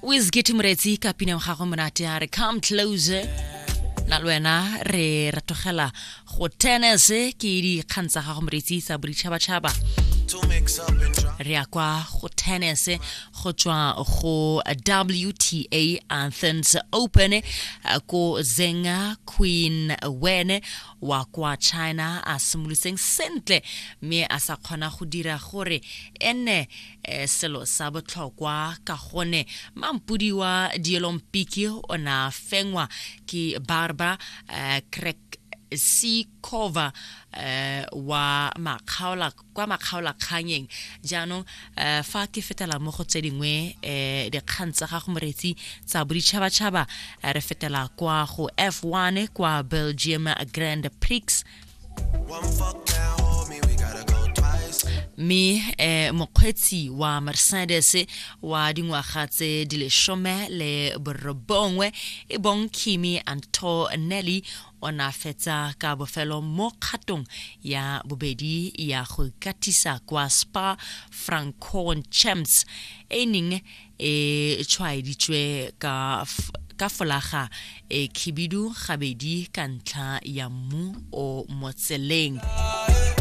Wizkid Moretsi ka pina ya gagwe monate a re "Come Closer". Na le wena re ratogela go tennis, ke dikgang tsa gago moretsi tsa boditšhabatšhaba. Re ya kwa go tennis go tswa go WTA Athens Open, ko Zheng Qinwen wa kwa China a simolotseng sentle mme a sa kgona go dira gore e nne selo sa botlhokwa, ka gone mampudi wa diolompiki o ne a fengwa ke Barbara Krejcikova wa makgaola kwa makgaolakganyeng. Jaanong fa ke fetela mo go tse dingwe dikgang tsa gago moretsi tsa boditšhabatšhaba, re fetela kwa go F1 kwa Belgium Grand Prix, mme mokgweetsi wa Mercedes wa dingwaga tse di 19 e bong Kimi Antonelli o ne a fetsa ka bofelo mo kgatong ya bobedi ya go ikatisa kwa Spa Francorchamps e neng e tshwaeditswe ka folaga e khibidu gabedi ka ntlha ya mmu o mo tseleng.